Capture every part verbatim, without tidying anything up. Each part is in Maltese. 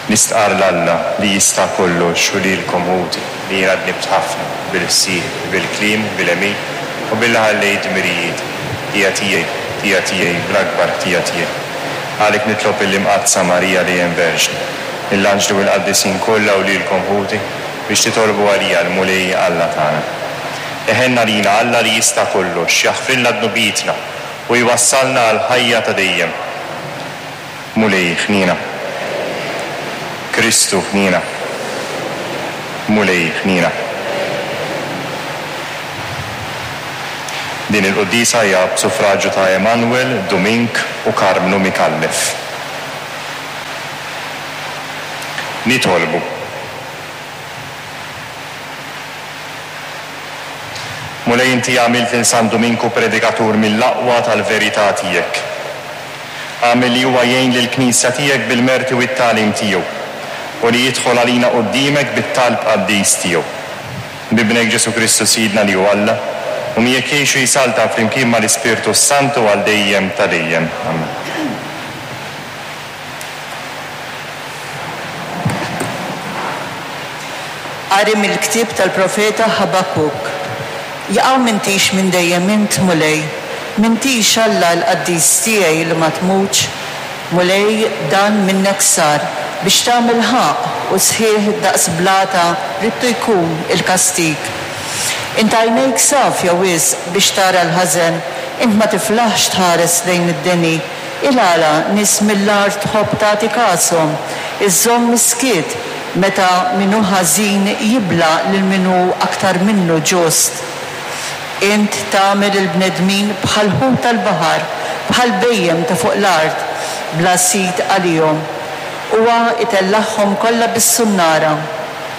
Nistqarr 'l Alla li jista' kollox u lilkom ħuti li jiena dnibt ħafna bil-ħsieb, bil-kliem, bil-għemil u billi ħallejt dmirijieti. Ħtija tiegħi, ħtija tiegħi, bl-akbar ħtija tiegħi. Għalhekk nitlob lill-Imqaddsa Marija dejjem Verġni, lill-anġli u l-qaddisin kollha u lilkom ħuti biex titolbu għalija lill-Mulej Alla tagħna. Iħenn għalina Alla li jista' kollox, jaħfrilna dnubietna u jwassalna għall-ħajja ta' dejjem. Mulej ħniena. Kristu ħniena. Mulej ħniena. Din il-quddiesa hija b'suffraġġju ta' Emanuel, Dumink u Karmnu Micallef. Nitolbu. Mulej, inti għamilt lil San Duminku predikatur mill-aqwa tal-verità tiegħek. Agħmel li huwa jgħin lill-Knisja tiegħek bil-merti u t-tagħlim tiegħu, u li jidħol għalina quddiemek bit-talb qaddis tiegħu. B'Ibnek Ġesù Kristu Sidna li hu Alla, u miegħek jgħix u jsaltan flimkien mal-Ispirtu s-Santu għal dejjem ta' dejjem. Amen. Qari mill-ktieb tal-profeta Ħabakuk. Jaqaw m'intix minn dejjem int, Mulej, m'intix Alla l-qaddis tiegħi li ma tmutx. Mulej, dan minnek sar biex tagħmel ħaqq u sħiħ daqs blata ridtu jkun il-kastig. Int għajnejk safja wisq biex tara l-ħażen, int ma tiflaħx tħares lejn id-deni. Il-għala nies mill-art tħobb tagħti kashom, iżżomm miskiet meta min hu ħażin jibla' lil min hu aktar minnu ġust. Int tagħmel il-bnedmin bħal ħut tal-baħar, bħal bhejjem ta' fuq l-art, bla sid għalihom. Huwa itellagħhom kollha bis-sunnara,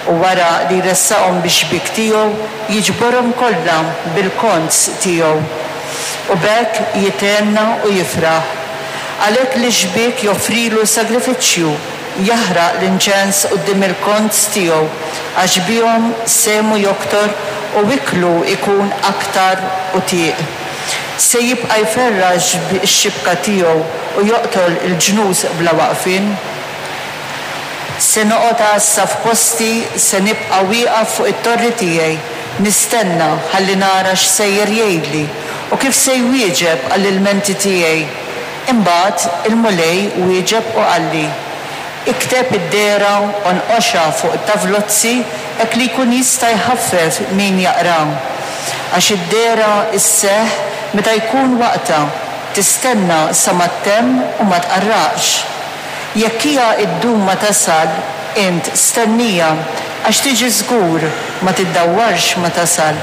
u wara li jressaqhom bix-xbiek tiegħu, jiġborhom kollha bil-konz tiegħu. U b'hekk jithenna u jifraħ. Għalhekk li xbiek joffrilu sagrifiċċju, jaħraq l-inċens quddiem il-konz tiegħu, għax bihom sehmu joktor u iklu jkun aktar utieq. Se jibqa' jferrax x-xibka tiegħu u joqtol il-ġnus bla waqfien. Se noqgħod għassa f'posti, se nibqa' wieqaf fuq it-torri tiegħi, nistenna ħalli nara x'sejjer jgħidli u kif se jwieġeb għall-ilmenti tiegħi. Imbagħad il-Mulej wieġeb u qalli: Ikteb id-dehra u nqoxha fuq tavlozzi hekk li jkun jista' jħaffef min jaqra. Għax id-dehra isseħħ meta jkun waqtha, tistenna sa ma ttemm u ma tqarraqx. Jekk hija ddum ma tasal, int stennija, għax tiġi żgur, ma tiddawwarx ma tasal.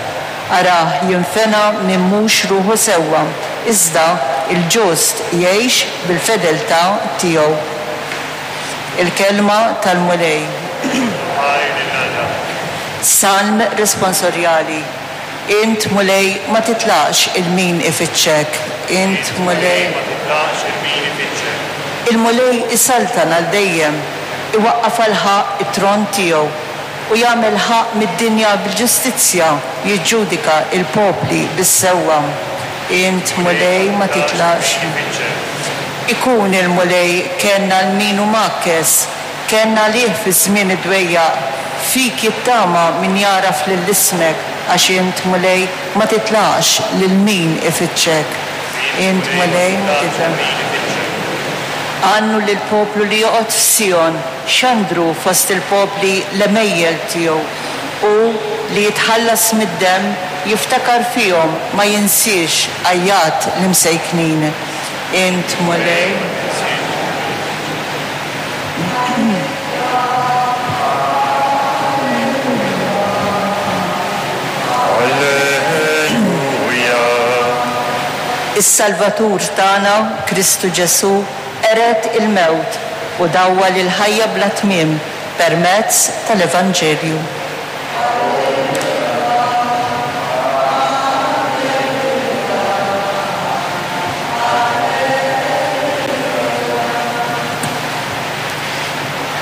Arah jinfena min mhux ruħu sewwa, iżda il-ġust jgħix bil-fedeltà tiegħu. Il-kelma tal-Mulej. Salm responsorjali. Int, Mulej, ma titlaqx 'il min ifittxek. Int, Mulej, ma titlaqx 'il min ifittxek. Il-Mulej isaltan għal dejjem, iwaqqaf għal ħaqq it-tron tiegħu u jagħmel ħaqq mid-dinja bil-ġustizzja, jiġġudika il-popli bis-sewwa. Int, Mulej, ma titlaqx. Ikun il-Mulej kenn għal min hu mgħakkes, kenn għalih fi żmien id-dwejjaq, fik jittama min jagħraf lil ismek, għax int, Mulej, ma titlaqx lil min ifittxek. Int, Mulej, ma titlaqx. Għannu lill-poplu li joqgħod f'Sijon, xandru fost il-popli l-għemejjel tiegħu, u li jitħallas mid-demm jiftakar fihom ma jinsiex għajjat l-imsejknin. Int, Mulej. Alleluja. Is-Salvatur tagħna, Kristu Ġesù, qered il-mewt u dawwal il-ħajja bla tmiem permezz tal-Evanġelju.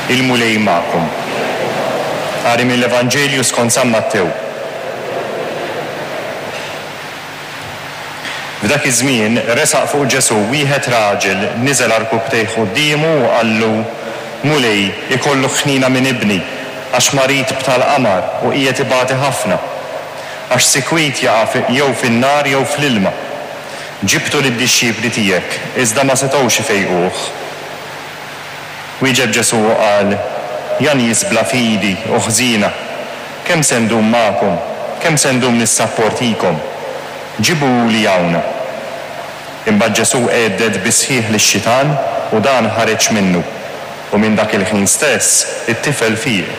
Il-Mulej magħkom. Qari mill-Evanġelju skont San Mattew. F'dak iż-żmien resaq fuq Ġesù wieħed raġel, niżel għarkupptejh quddiemu u qallu: Mulej, ikollok ħniena minn ibni, għax marid b'tal-qamar u qiegħed ibati ħafna. Għax sikwit jaqa' jew fin-nar jew fl-ilma. Ġibtu lid-dixxipli tiegħek, iżda ma setgħux ifejquh. Wieġeb Ġesù u qal, Ja nies bla fidi u ħżiena, kemm se ndum magħkom, kemm se ndum nissapportikom? Ġibuhuli hawn. Imbagħad Ġesù għedded bis-sħiħ lix-xitan u dan ħareġ minnu, u minn dak il-ħin stess it-tifel fieq.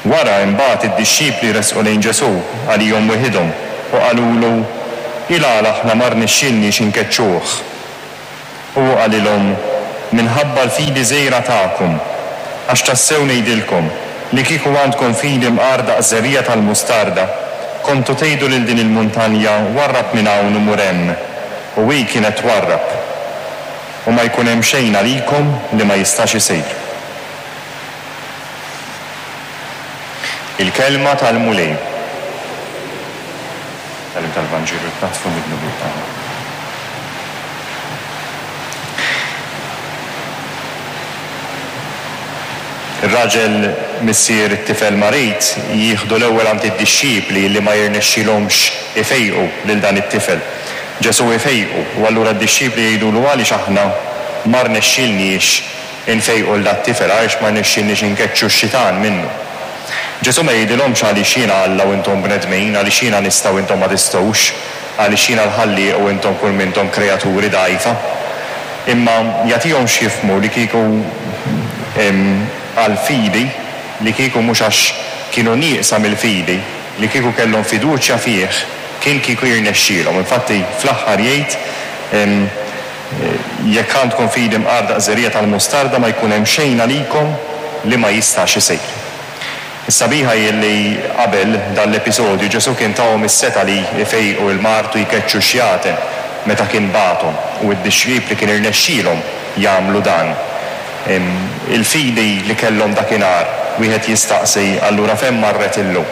Wara imbagħad id-dixxipli resqu lejn Ġesù għalihom weħidhom u qalulu, Il-għala aħna ma rnexxielniex inkeċċuh. U hu qalilhom, Minħabba l-fidi żgħira tagħkom, għax tassew ngħidilkom li kieku għandkom fidi mqar daqs żerriegħa tal-mustarda, kontu tgħidu lil din il-muntanja, 'Warrab minn hawn u mur hemm', u hi kienet twarrab. U ma jkun hemm xejn għalikom li ma jistax isir. Il-Kelma tal-Mulej. Tagħlim tal-Vanġelu tnaddfu mid-dnubiet tagħna. Ir-raġel missier it-tifel marid jieħdu l-ewwel għand id-dixxipli li ma jirnexxilhomx ifejqu lil dan it-tifel. Ġesù ifejqu u allura d-dixxipli jgħidulu għaliex aħna ma rnexxilniex infejqu 'l dat-tifel, għaliex ma rnexxilniex inkeċċu x-xitan minnu. Ġesù ma jgħidilhomx għaliex jiena Alla u intom bnedmin, għaliex jiena nista' u intom ma tistgħux, għaliex jiena l-Ħallieq u intom kull m'intom kreaturi dgħajfa. Imma jagħtihom x'jifhmu li kieku għall-fidi, li kieku mhux għax kienu nieqsa mill-fidi, li kieku kellhom fiduċja fih, kien kieku jirnexxielhom. Infatti fl-aħħar jgħid, jekk għandkom fidi mqar daqs żerriegħa tal-mustarda ma jkun hemm xejn għalikom li ma jistax isir. Is-sabiħa hi li qabel dan l-episodju Ġesù kien tahom is-setgħa li jfejqu l-mard u jkeċċu x-xjaten meta kien bagħathom, u d-dixxipli kien irnexxielhom jagħmlu dan. Il-fidi li kellhom dakinhar, wieħed jistaqsi allura fejn marret illum?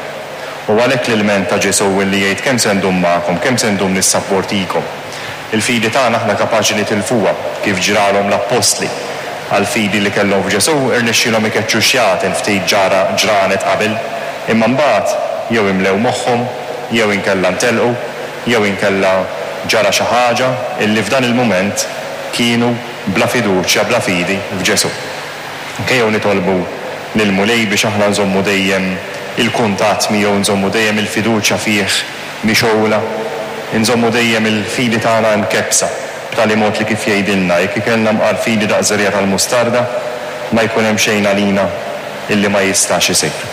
U għalhekk l-ilment ta' Ġesù li jgħid kemm se ndum magħkom, kemm se ndum nissapportikom. Il-fidi tagħna aħna kapaċi nitilfuha kif ġralhom l-appostli. Għall-fidi li kellhom f'Ġesù irnexxielhom ikeċċu x-xjaten ftit ġara ġranet qabel, imma mbagħad jew imlew moħħhom, jew inkella ntelqu, jew inkella ġara xi ħaġa illi f'dan il-mument kienu bla fiduċja, bla fidi f'Ġesù. Ejjew nitolbu lill-Mulej biex aħna nżommu dejjem il-kuntatt miegħu, nżommu dejjem il-fiduċja fih mixgħula, nżommu dejjem il-fidi tagħna mkebbsa, b'tali mod li kif jgħidilna, jekk ikollna mqar fidi daqs żerriegħa tal-mustarda, ma jkun hemm xejn għalina illi ma jistax isir.